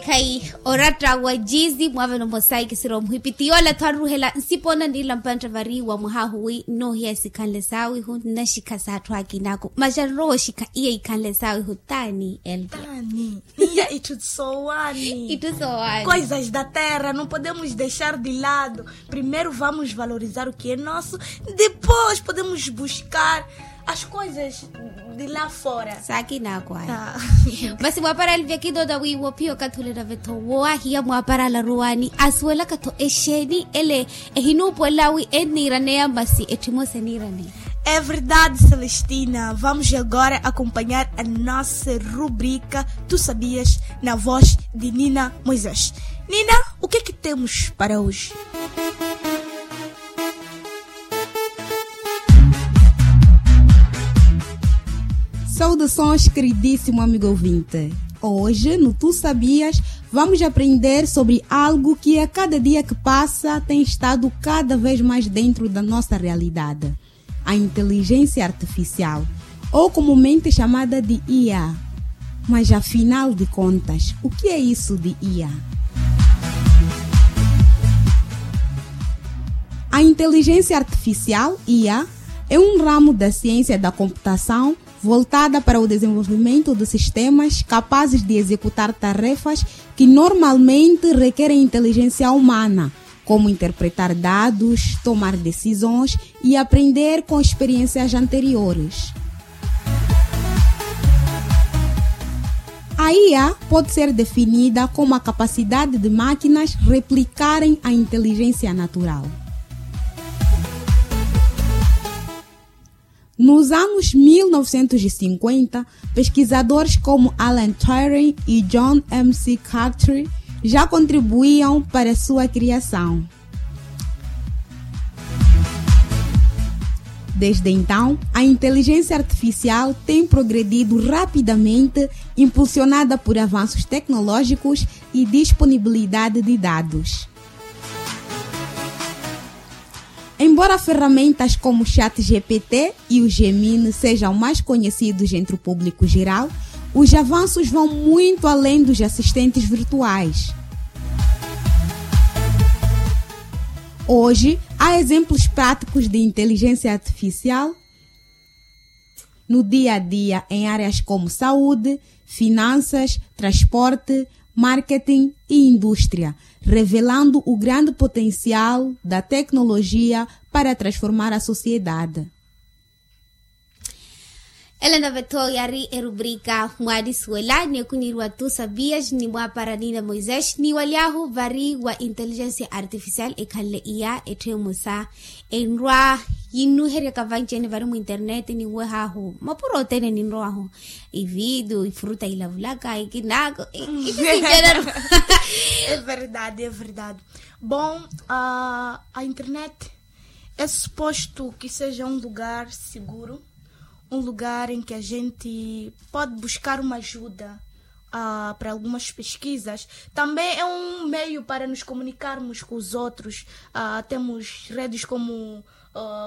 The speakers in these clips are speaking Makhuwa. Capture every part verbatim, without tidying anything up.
Khayi oratta wa jizi mwaavela omosayi kisira omuhipi ti yoola tho aruhela nsipona nila mpantta vari wa mwahahu wi nnoohiya sikhanle saawihu nnaxikha s'atthu akinaku maxa nrowa oxikha iya ikhanle saawihu taani elke. Taani. Iya itthu sowani. Itthu sowani. Coisas da terra não podemos deixar de lado. Primeiro vamos valorizar o que é nosso, depois podemos buscar as coisas de lá fora. Saakina akwaya. Masi mwaapara alivya kidoda wi wophiya okathi ole nave-tho woowahiya mwaapara alaruwani asuwelaka-tho exeeni ele ehinuupuwela wi enniiraneya masi etthu emosa eniiraneya. É verdade, Celestina. Vamos agora acompanhar a nossa rubrica Tu Sabias, na voz de Nina Moisés. Nina, o que é que temos para hoje? Saudações, queridíssimo amigo ouvinte. Hoje, no Tu Sabias, vamos aprender sobre algo que a cada dia que passa tem estado cada vez mais dentro da nossa realidade. A inteligência artificial, ou comumente chamada de I A. Mas afinal de contas, o que é isso de I A? A inteligência artificial, I A, é um ramo da ciência da computação voltada para o desenvolvimento de sistemas capazes de executar tarefas que normalmente requerem inteligência humana, como interpretar dados, tomar decisões e aprender com experiências anteriores. A I A pode ser definida como a capacidade de máquinas replicarem a inteligência natural. Nos anos mil novecentos e cinquenta, pesquisadores como Alan Turing e John M C Cartry já contribuíam para sua criação. Desde então, a inteligência artificial tem progredido rapidamente, impulsionada por avanços tecnológicos e disponibilidade de dados. Embora ferramentas como o chat G P T e o Gemini sejam mais conhecidos entre o público geral, os avanços vão muito além dos assistentes virtuais. Hoje, há exemplos práticos de inteligência artificial no dia a dia em áreas como saúde, finanças, transporte, marketing e indústria, revelando o grande potencial da tecnologia para transformar a sociedade. Ela nave-tho yari erubrika mwarisuwela ni ekuniriwa tu sabias ni mwapara nina moisés ni walyahu vari wa intelligence artificial ekhanle iya etthu emosa enrwa yinnuheryaka vanci-ene vari mu internet ni nwehahu mapuro othene ninrowahu ividio ifuruta ilavulaka ikinako ikisincerero. É verdade, é verdade. Bom, a internet é suposto que seja um lugar seguro, um lugar em que a gente pode buscar uma ajuda para algumas pesquisas. Também é um meio para nos comunicarmos com os outros. Temos redes como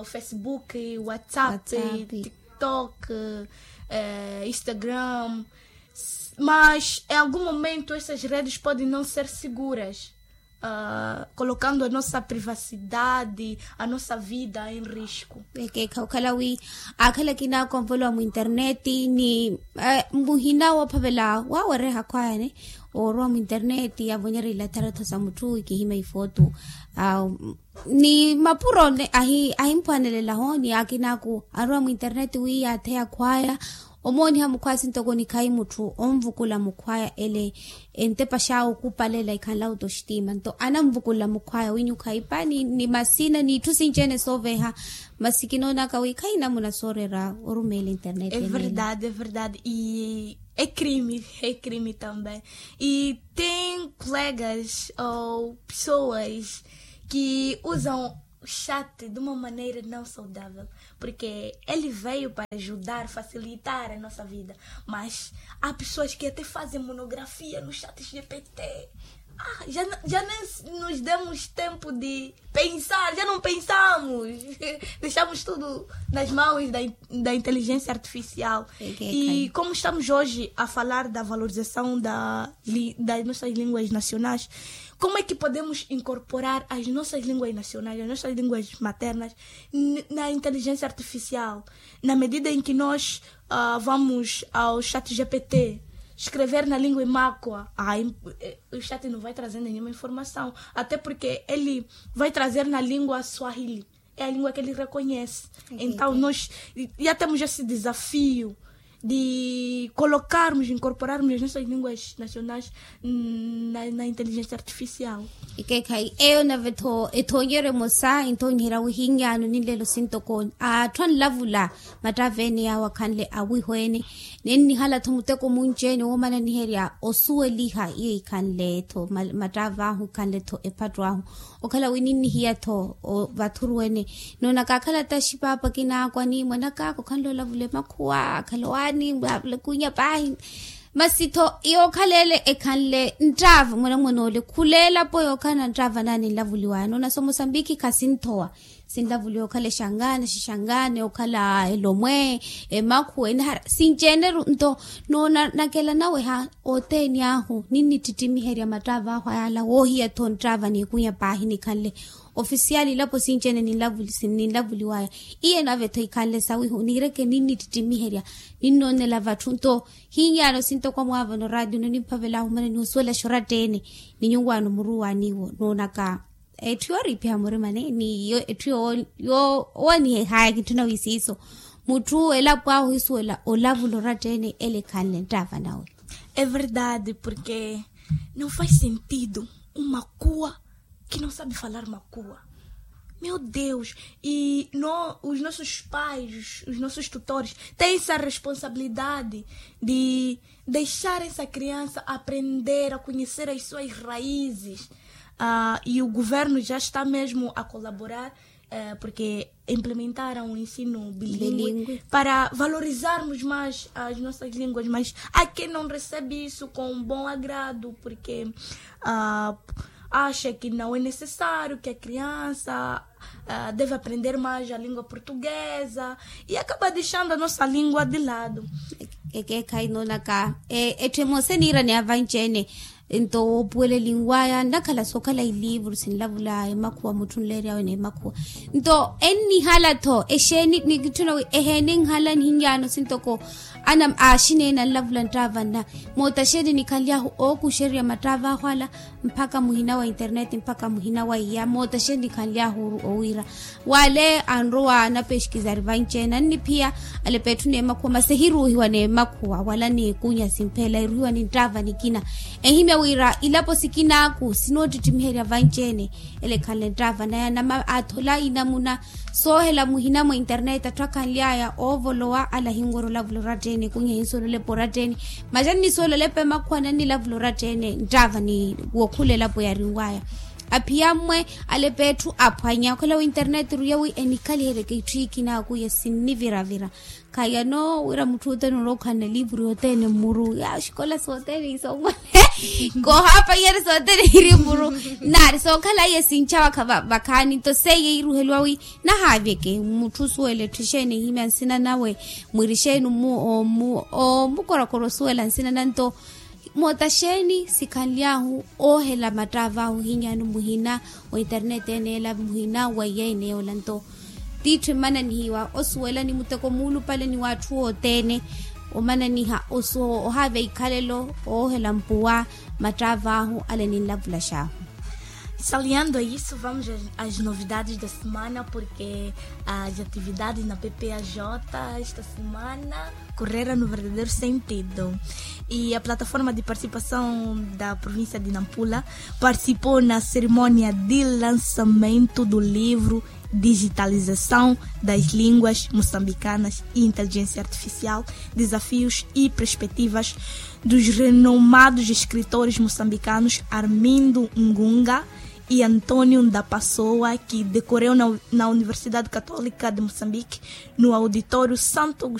Facebook, WhatsApp, TikTok, Instagram. Mas em algum momento essas redes podem não ser seguras, colocando a nossa privacidade, a nossa vida em risco. Ekeekha okhala wi akhala akina akonvolowa mu internet ni muhina woophavela wawereha akhwayani oorowa mu internet avonyerya ilatharattho sa mutthu ikihima ifoto ni mapuro ahimpwanelelaho ni akina aku arowa mu internet wi yaatheya akhwaya omooniha mukhwaya sintoko nikhayi mutthu onvukula mukhwaya ele entepa xawe okupalela ikhanla otostima nto ananvukulela mukhwaya winyukha ipa ni masina n'itthu sinci-ene sooveha. Masi kinoonaka wi khayi namuna soorera orumeela internet. É verdade, é verdade. E é crime, é crime também. E tem colegas ou pessoas que usam o chat de uma maneira não saudável, porque ele veio para ajudar, facilitar a nossa vida, mas há pessoas que até fazem monografia no chat G P T. Ah, já nos demos tempo de pensar, já não pensamos. Deixamos tudo nas mãos da inteligência artificial. E como estamos hoje a falar da valorização das nossas línguas nacionais, como é que podemos incorporar as nossas línguas nacionais, as nossas línguas maternas na inteligência artificial, na medida em que nós vamos ao chat G P T escrever na língua imakwa, o chat não vai trazer nenhuma informação, até porque ele vai trazer na língua swahili, é a língua que ele reconhece. Então nós já temos esse desafio de colocarmos, incorporarmos as nossas línguas nacionais na inteligência artificial. Ekeekhayi eyo nave-tho ethoonyeryo emosa enthonyiherya wihinyaano ninlelo sintokoni atthu anlavula mattava ene yaawo akhanle awiho ene. Nennihala-tho muteko munci-ene woomananiherya osuweliha iyo ikhanle-tho mattava ahu ikhanle-tho ephattu ahu. Okhala wi ninnihiya-tho vathuru ene noona kaakhala taxi paapa kinaakwa ni mwanakaaka okhanle olavula emakhuwa akhala owaani mwaavula ekunya paahi. Masi-tho yookhala ele ekhanle nttaava mwanamwan'ole khula elapo yookhala nttaava naani nlavuliwaya noona so musambikhi khasinthowa. Sinlavuliwa okhala exangana xixangane okhala elomwe emakhuwa enahara sinci-ene-ru nto noona nakela naweha othene ahu ninnittittimiherya mattaava ahu ayaala woohiya-tho nttaava n'ikunya paahi nikhanle ofisiyali ilapo sinci-ene ninlavuliwaya. Iye nave-tho ikhanle sawihu niireke ninnittittimiherya ninnoonela vatthu nto hiinyaano sintokwa mwaavano raatiyo nonimphavelaahu mana nihusuwelaxa oratta-ene ni nyuwaano muruwaaniwo noonaka. Etthu yooriipiha murimani ni etthu yoowaniha ehaya kintthuna wi siiso mutthu elapo ahu ohisuwela olavula oratta-ene ele ekhanle nttaava nawe. É verdade porque não faz sentido uma kua que não sabe falar makua. Meu deus. E os nossos pais, os nossos tutores têm essa responsabilidade de deixar essa criança aprender a conhecer as suas raízes. E o governo já está mesmo a colaborar porque implementaram o ensino bilíngue para valorizarmos mais as nossas línguas, mas há quem não recebe isso com bom agrado porque acha que não é necessário, que a criança deve aprender mais a língua portuguesa e acaba deixando a nossa língua de lado. Ekeekhayi noonaka etthu emosa eniira ni avanci-ene nto woopuwela elinwaya nnakhala sookhala iliivuru sinlavula emakhuwa mutthu nleery'awe n'emakhuwa. Nto ennihala-tho exeeni nikitthuna wi eheeni nhala nihinyaano sintoko ana aaxineene anlavula nttaavanna. Moota xeeni nikhanly'ahu ookuxererya mattaava ahu ala mpakha muhina wa internet mpakha muhina wa iya moota xeeni nikhanly'ahu owiira wale anrowa anapexkizari vanci-ene anniphiya alepa etthu n'emakhuwa masi ehiruuhiwa n'emakhuwa wala n'ekunya simpheela eruhiwa ni nttaava nikina. Ehimya wira ilapo sikinaaku sinoottittimiherya vanci-ene ele ekhanle nttaava naya nama aathola inamuna soohela muhina mwa internet atthu akhanly'aya oovolowa ala ahinwerya olavula oratta-ene ekunya ehinsuwela olepa oratta-ene. Masi annisuwela olepa emakhuwa nannilavula oratta-ene nttaava ni wookhula elapo yarinwaya. Aphiya mmwe alepa etthu aphwanya okhala wi internet eruya wi enikhaliheryeke itthu ikina akuya sinniviravira. Khayano wira mutthu othene orowa okhanle eliivuru yothene mmuru ya oxikola sothene isomwale koohaapanyerya sothene iri mmuru. Naari sookhala iye sinchawaka vakhaani nto seiye iruheliwa wi nahaavyeke mutthu osuwela etthu exeeni ehimya nsina nawe mwiri exeeni omukorakora osuwela nsina nanto. Moota xeeni sikhanly'ahu oohela mattaava ahu ohinyaano muhina wa internet ene ela muhina wa iya ene yoola nto t'itthu emmananihiwa osuwela ni muteko muulupale ni w'atthu othene omananiha ohaava ikhalelo oohela mpuwa mattaava ahu ale ninlavulax'ahu. Saliando a isso vamos às novidades da semana porque as atividades na P P A J esta semana correram no verdadeiro sentido. E a plataforma de participação da província de Nampula participou na cerimónia de lançamento do livro Digitalização das línguas moçambicanas e inteligência artificial, desafios e perspectivas, dos renomados escritores moçambicanos Armindo Ngunga e António da Pessoa, que decorreu na Universidade Católica de Moçambique, no auditório Santo Agostinho.